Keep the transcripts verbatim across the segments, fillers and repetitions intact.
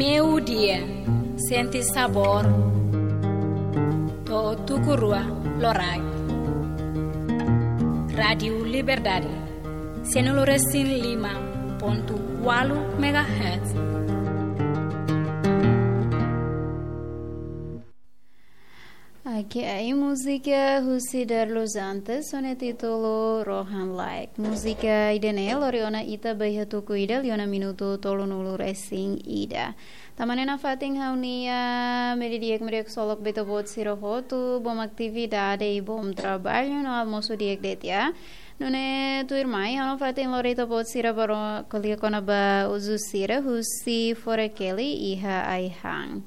Meiudia, sente sabór. To'o tuku rua loraik. Rádiu Liberdade, cento e cinco e cinco ponto oito megahertz. Oke, ai múzika husi Darlus Antes, ho nia títulu Rohan Like. Múzika ida-ne'e lori ona ita ba iha tuku ida liu ona minutu tolunulu-resin-ida. Tanba ne'e nafatin ha'u-nia meiudia di'ak, meiudia di'ak ksolok ba ita-boot sira hotu, bom atividade i bom traballu no almosu di'ak de'it, ya. Nune'e tuirmai, ha'u nafatin lori ita-boot sira ba ro-, ko'alia kona-ba uzu sira husi forekeli iha ai-han.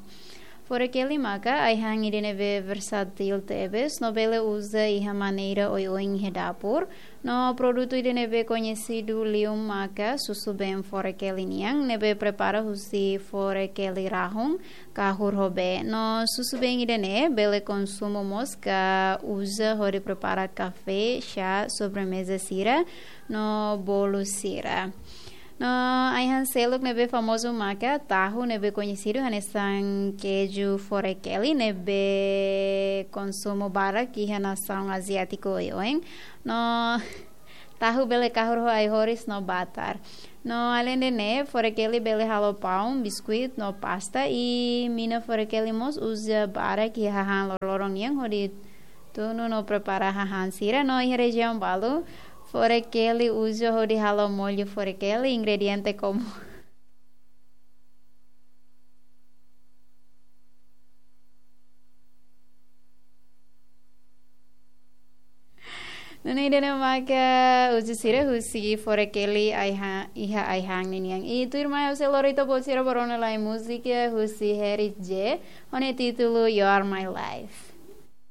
Forekeli maka ai-han ida ne'ebé versátil tebes, no bele uza iha maneira oioin iha dapur, no produtu ida ne'ebé koñesidu liu maka susubeen forekeli nian, ne'ebé prepara husi forekeli rahun, kahur ho bee. No susubeen ida-ne'e bele konsumu mós ka uza hodi prepara kafé, xá, sobremeza sira, no bolu sira. No ai-han seluk ne'ebé famozu maka tahu, ne'ebé koñesidu hanesan keju forekeli, ne'ebé konsumu barak iha nasaun aziátiku oioin. No tahu bele kahur ho ai-horis no batar. No aleinde ne'e, forekeli bele halo paun, biskuit no pasta, i mina forekeli mós uza barak iha hahán loroloron nian hodi tunu no prepara hahán sira. No iha rejiaun balu, forekeli uza hodi halo mollu forekeli, ingrediente komún. Nune'e ida-ne'e maka uzu sira husi forekeli ai-ha-, iha ai-han ninian. I tuirmai ha'u sei lori ita-boot sira ba rona lai múzika husi Harry J, ho nia títulu You Are My Life.